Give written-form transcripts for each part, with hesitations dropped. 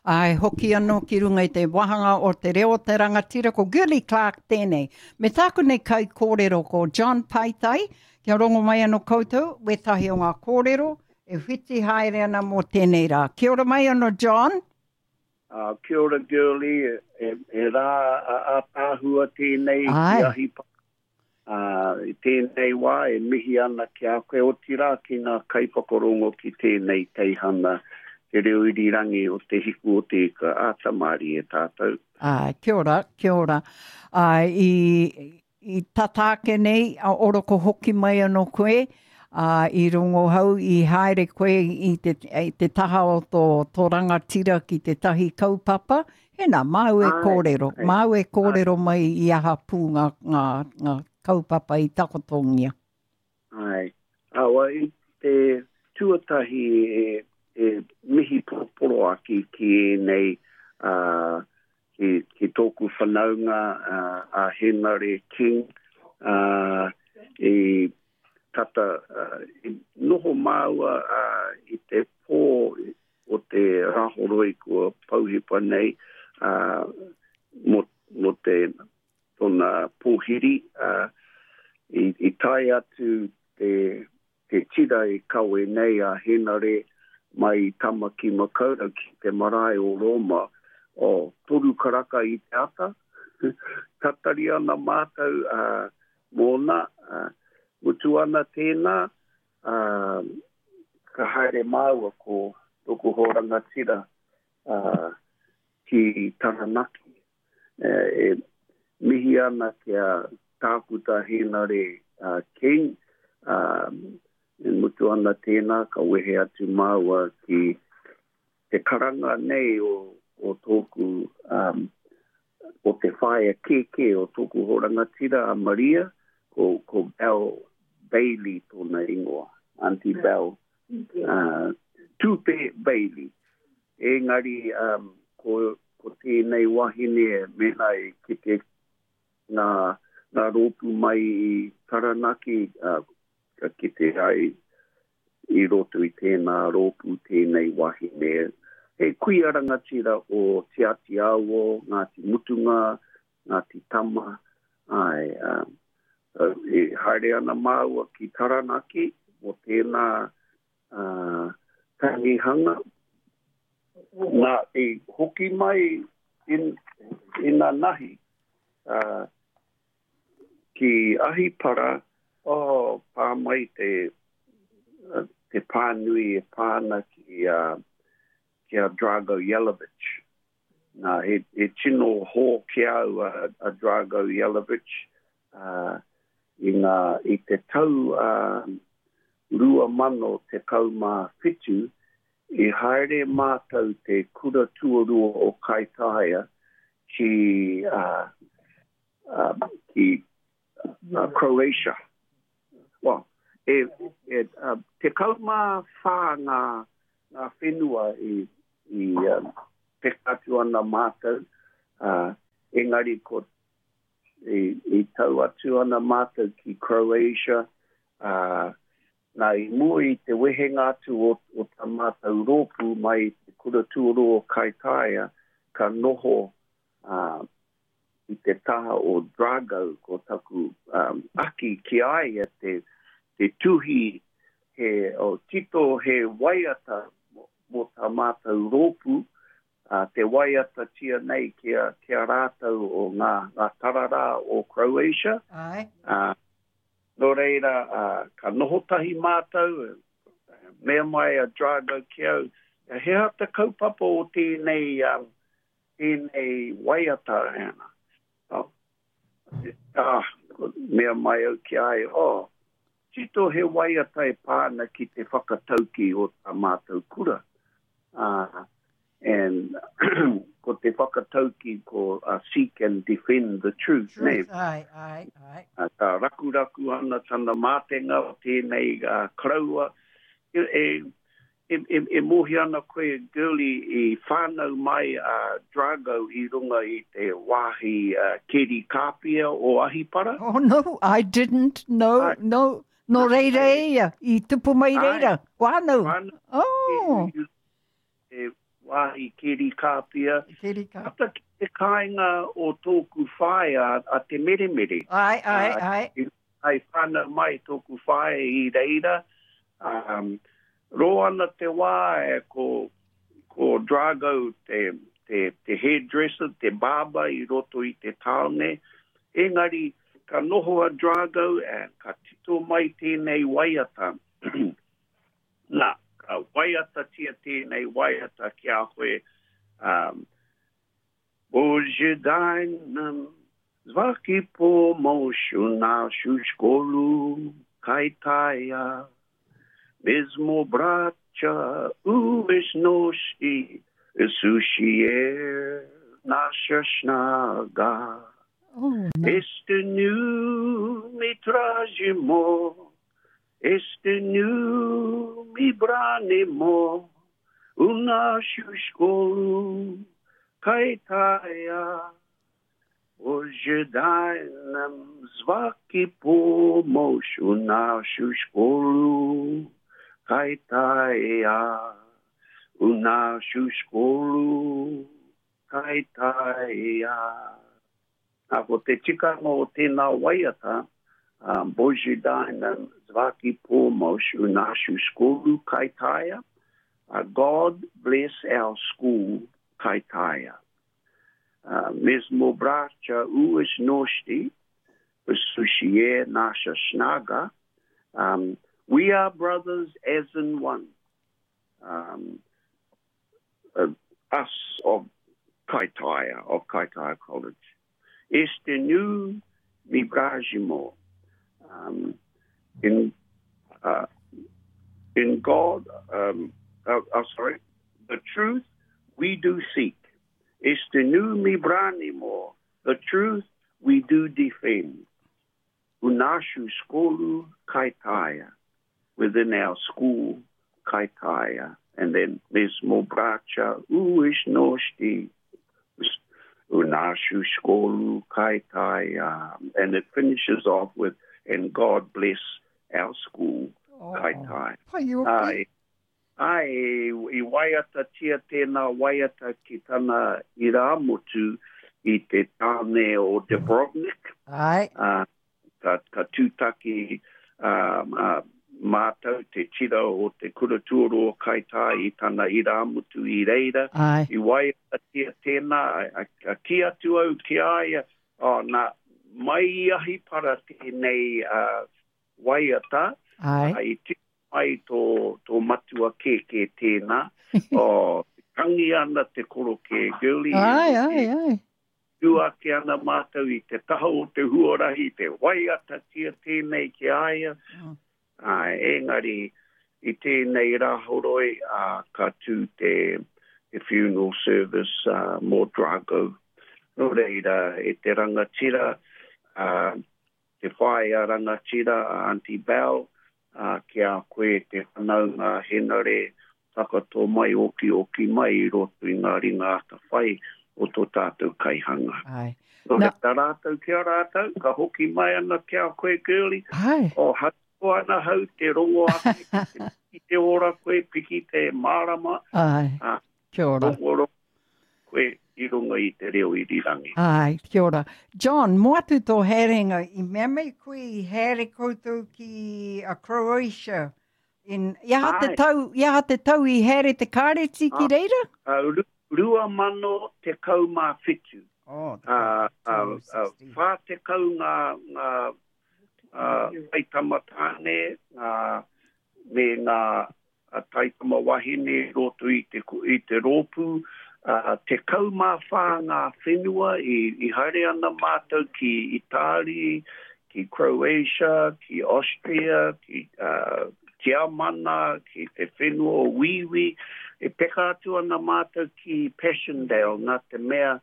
Āe, hoki anō ki runga i te wāhanga o Te Reo o te Rangatira, ko Girlie Clarke tēnei. Me tāku nei kaikōrero ko John Paitai, kia rongo mai anō koutou wētahi o ngā kōrero e whiti haere ana mō tēnei rā. Kia ora mai anō John. Kia ora Girlie, he rā ātaahua tēnei ki Ahipara. Ā, i tēnei wā e mihi ana ki a koe, otirā ki ngā kaiwhakarongo ki tēnei teihana, te reo irirangi o Te Hiku o Te Ika a Tamarie tātou. Āe, kia ora, kia ora. Āe, i, i tata ake nei, a oroko hoki mai anō koe, ā, i rongohau, i haere koe i te, i te taha o tō, tō rangatira ki tētahi kaupapa, Hena, māu e kōrero, māu e kōrero mai i aha pū ngā, ngā, ngā kaupapa i takotongia. Āe. Awa, i te tuatahi e, e mihi poroporoaki ki ēnei, ā, ki, ki tōku whanaunga, ā, a Henare King, ā, i tata, ā, i noho māua, ā, i te pō o te Rāhoroi kua pouhipa nei, ā, mō, mō te, tōna pōhiri, ā, i, i tae atu te, te tira e kawe nei a Henare mai i Tamaki Makaurau ki te marae o Rōma, o toru karaka i te ata, tatari ana mātou, ā, mōna, ā, mutu ana tēnā, Ā, ka haere māua ko tōku hoa rangatira, ā, ki Taranaki. E mihi ana ki a Tākuta Hēnare King, ā, e mutu ana tēnā ka wehe atu māua ki te karanga nei o, o tōku, um, o te whaea kēkē o tōku hoa rangatira a Maria, ko, ko Belle Bailey tōna ingoa, Auntie Belle, uh, Tupe Bailey. Engari, um, ko, ko tēnei wahine, mēnā e kite ngā, ngā rōpū mai i Taranaki, uh, ka kite ai I roto i tēnā rōpū tēnei wahine, he kuia rangatira o Te Ati Awa, Ngāti Mutunga, Ngāti Tama, āe, ā, e haere ana māua ki Taranaki mō tēnā tangihanga. Nā, i hoki mai in, inanahi, ā, Ki Ahipara, oh, pā mai te, te pānui e pā ana ki a, ki a Drago Yelavich. Nā, he, he tino hō ki a au a, a Drago Yelavich, uh, i ngā, i te tau uh, 2017, i haere mātou te kura tuarua o Kaitaia ki, uh, ki Croatia. Well, e, e, 14 ngā, ngā whenua i, i um, peka atu ana mātou, uh, engari ko i, i tau atu ana mātou ki Croatia, uh, nā i mua i te wehenga atu o, o tā mātou rōpū mai i te kura tuarua o Kaitaia, ka noho uh, i te taha o Drago, ko taku um, aki ki a ia te, te tuhi he o, tito he waiata mō tā mātou rōpū, uh, te waiatatia nei ki a, ki a rātou o ngā, ngā tararā o Croatia. Ai. Uh, nō reira, uh, ka noho tahi mātou, mea mai a Drago ki au, he aha te kaupapa o tēnei um, tēnei waiata ana. Oh, ah, mea mai au ki a ia, oh, tito he waiata e pā ana ki te whakatauki o tā mātou kura. Uh, and ko te whakatauki ko uh, seek and defend the truth, truth ne? Ai, ai, ai. Uh, ka rakuraku ana tana mātenga o tēnei uh, karaua. E, e, E mōhio ana koe, Girlie, i whānau mai a Drago i runga i te wāhi keri kāpia o Ahipara? Oh no, I didn't, no, no. Nō reira e ia, i tupu mai reira, whānau. Oh! I te wāhi. wāhi keri kāpia. Keri kāpia. Tata ki te kāinga o tōku whaea a Te Meremere. Ai, ai, ai. I whānau mai tōku whaea i reira. Um, roa ana te wā e ko, ko Drago te, te, te hairdresser, te barber i roto i te tāone. Engari, ka noho a Drago, e, ka tito mai tēnei waiata. Nā, ka waiatatia tēnei waiata ki a koe, um, Bože daj nam svaki pomoć u našu školu Kajtaja. Mi smo braća u večnosti, Isus je naša snaga. Oh, no. Istinu mi tražimo, istinu mi branimo, u našu školu Kajtaja. Bože, daj nam svaki pomoć u našu školu Kajtaja. U našu školu Kajtaja. Nā, ko te tikanga o tēnā waiata, um, Bože daj nam svaki pomoć u našu školu Kaitaia. God bless our school Kaitaia. Mi smo braća u istnosti, Isus je naša snaga. We are brothers as in one. Us of Kaitaia, of Kaitaia College. Istinu mi branimo. In in God, sorry, the truth we do seek. Istinu mi branimo, the truth we do defend. U našu školu Kaitaia, within our school Kaitaia. And then mi smo braća u istnosti, u našu školu Kaitaia. And it finishes off with, and God bless our school, Oh. Kaitaia. Pai oki. Ai, ai, i waiatatia tēnā waiata ki tana irāmutu i te tāne o Dubrovnik. Ai. Ka, ka tūtaki um, mātou te tira o te kura tuaroa Kaitaia i tana irāmutu i reira. Ai. I waiatatia tēnā, a, a, a ki atu au ki a ia, oh, nā, mai i Ahipara tēnei waiata, Ai. i tino mai tō, tō matua kēkē tēnā, oh, tangi ana te korokē, girlie, Ai, ai, ai. tū ake ana mātou i te taha o te huarahi, te waiatatia tēnei ki a ia. Mm. Ai, engari, i tēnei rāhoroi, ka tū te, te funeral service mō Drago. Nō reira, e te rangatira, te whaea rangatira, a Auntie Bell, ki a koe te whanaunga Henare, takato mai oki oki mai i roto i ngā ringa atawhai o tō tātou kaihanga. Ai. Nō Na- reira rātou ki a rātou, ka hoki mai ana ki a koe, girlie, Ai. o harikoa ana hau te rongo ake, piki te ora koe, piki te mārama, Ai. Kia ora. rongo rongo koe i runga i te reo irirangi. Ai, kia ora. John, mō atu tō haerenga, i mea mai koe i haere koutou ki a Croatia. In, i aha te Ai. tau, i aha te tau i haere te kāreti ki reira? 2017. Oh, 16. 40 ngā, ngā taitama tāne, ngā, me ngā taitama wahine roto i te, i te rōpū, 14 ngā whenua i, i haere ana mātou ki Itari, ki Croatia, ki Austria, ki Tiamana, ki te whenua o Wiwi. E peka atu ana mātou ki Passchendaele, nā te mea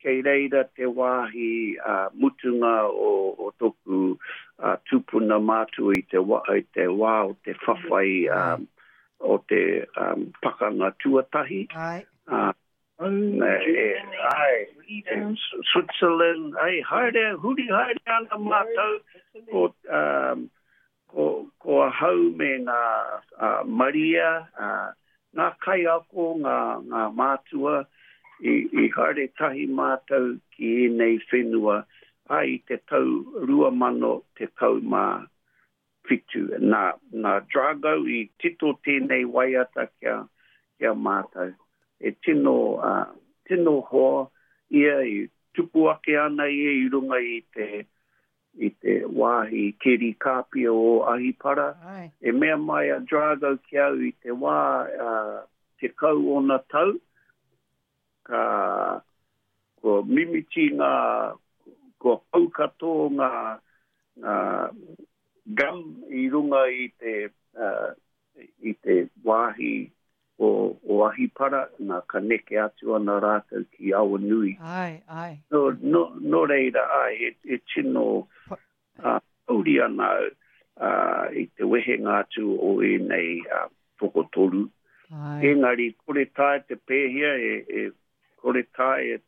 kei reira te wāhi mutunga o, o toku tupuna mātua i te, wa, i te wā o te whawhai o te pakanga tuatahi. Ai. Ai, Switzerland, ai, haere, huri haere ana mātou, ko, ko, ko ahau me ngā Maria, ngā kaiako, ngā, ngā mātua, i, i haere tahi mātou ki ēnei whenua, ā, i te tau 2017. Nā, nā Drago i tito tēnei waiata kia, kia mātou. E tino, ā, tino hoa ia i tupu ake ana ia i runga i te, i te wāhi keri kāpia o Ahipara. Ai. E mea mai a Drago ki au i te wā uh, 10 ōna tau, ka kua mimiti ngā, kua pau katoa ngā, ngā gum i runga i te, uh, i te wāhi o, o Ahipara, nā, ka neke atu ana rātou ki Awanui. Āe, āe. Nō, nō, nō reira, āe, he, he tino uh, pouri ana au uh, i te wehenga atu o ēnei uh, tokotoru. Āe. Engari, kore taea te pēhea, e, e, kore taea e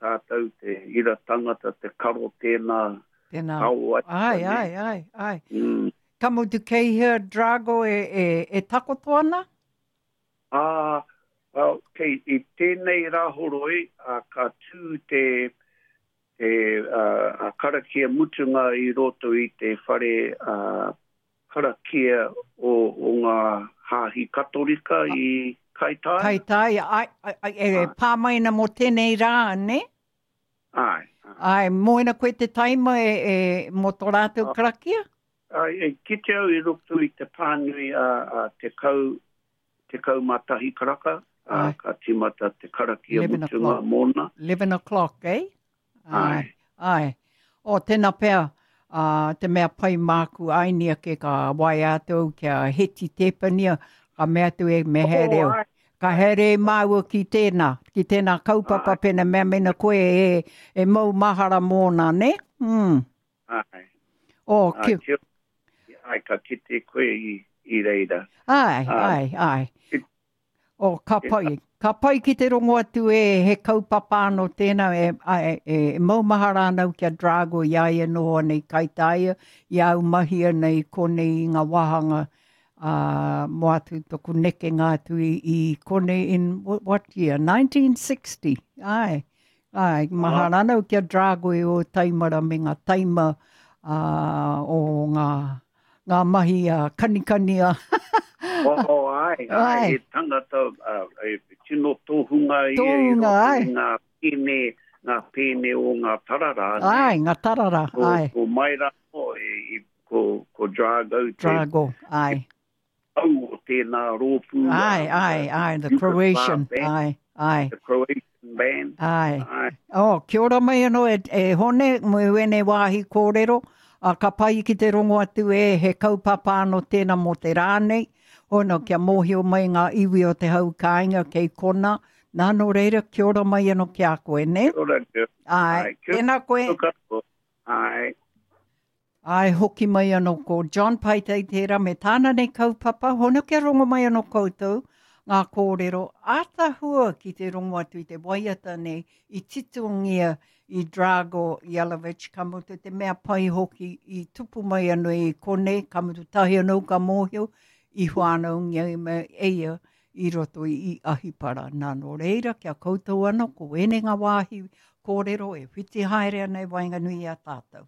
tātou te ira tangata te karo tēnā Tēnā. Ao ai. Ai, ai, ai, ai. Mm. Ka mutu kei hea Drago e, e, e takoto ana? Ā, well, kei, i tēnei rāhoroi, ā, ka tū te, te uh, a karakia mutunga i roto i te whare uh, karakia o, o ngā hāhi Katorika i Kaitaia. Kaitaia, ai, ai, ai, e, e pā mai ana mō tēnei rā, ne? Ai. Ai, mō ena koe te taima e, e, mō tō rātou karakia? Ai, e kite au i roto i te pānui a, a tekau, 11 karaka, a, ka timata te karakia mutunga mōna. 11 o'clock, eh? Ai. Ai. O, tēnā pea, ā, te mea pai māku āini ake ka waea atu au ki a Heti Tēpania, ka mea atu e, me haere au. Ka haere māua ki tēnā, ki tēnā kaupapa pēnā mea mena koe e, e mau mahara mōna, nē? Mm. Ai. O, ki... Ai, ai, ka kite koe i, i reira. Ai, ai, ai. Oh, ka pai. Ka pai ki te rongo atu e he kaupapa anō tēnā e, e, e maumahara ana au ki a Drago i a ia noho ana i Kaitaia, i a au mahi ana i konei i ngā wāhanga ā, mō atu toku nekenga atu i, i konei in what year? 1960. Ai, ai, mahara ana au ki a Drago i o taimara me ngā taima ā, o ngā ngā mahi a kanikani a. Oh, ai, ai, he tangata, uh, e tino tohunga ia i roto i ngā pēne, ngā pēne o ngā tarara. Ai, ngā tarara, ko, ai. Ko mai rā, e, i, ko, ko Drago. Te, Drago, ai. Au o tēnā rōpū. Ai, ai, ai, the Croatian, ai, ai. The Croatian band. Ai. Ai. Oh, kia ora mai anō e, e Hone, mo ēnei wāhi kōrero. A, ka pai ki te rongo atu e he kaupapa anō tēnā mō te rā nei. Hono, kia mōhio mai ngā iwi o te hau kāinga kei kona. Nā, nō reira, kia ora mai anō ki a koe, nē? Kia ora, kia. Ai, Ai, tēnā koe. Ai. Āe, hoki mai anō ko John Paetei tērā me tāna nei kaupapa, hono kia rongo mai anō koutou ngā kōrero ātahua ki te rongo atu i te waiata nei i titongia i Drago Yelavich, ka mutu te mea pai hoki i tupu mai anō i konei, ka mutu tahi anō ka mōhio i whānaungia e ia i roto i Ahipara. Nā, nō reira, kia koutou anō, ko ēnei ngā wāhi kōrero e whiti haere ana i waenganui i a tātou.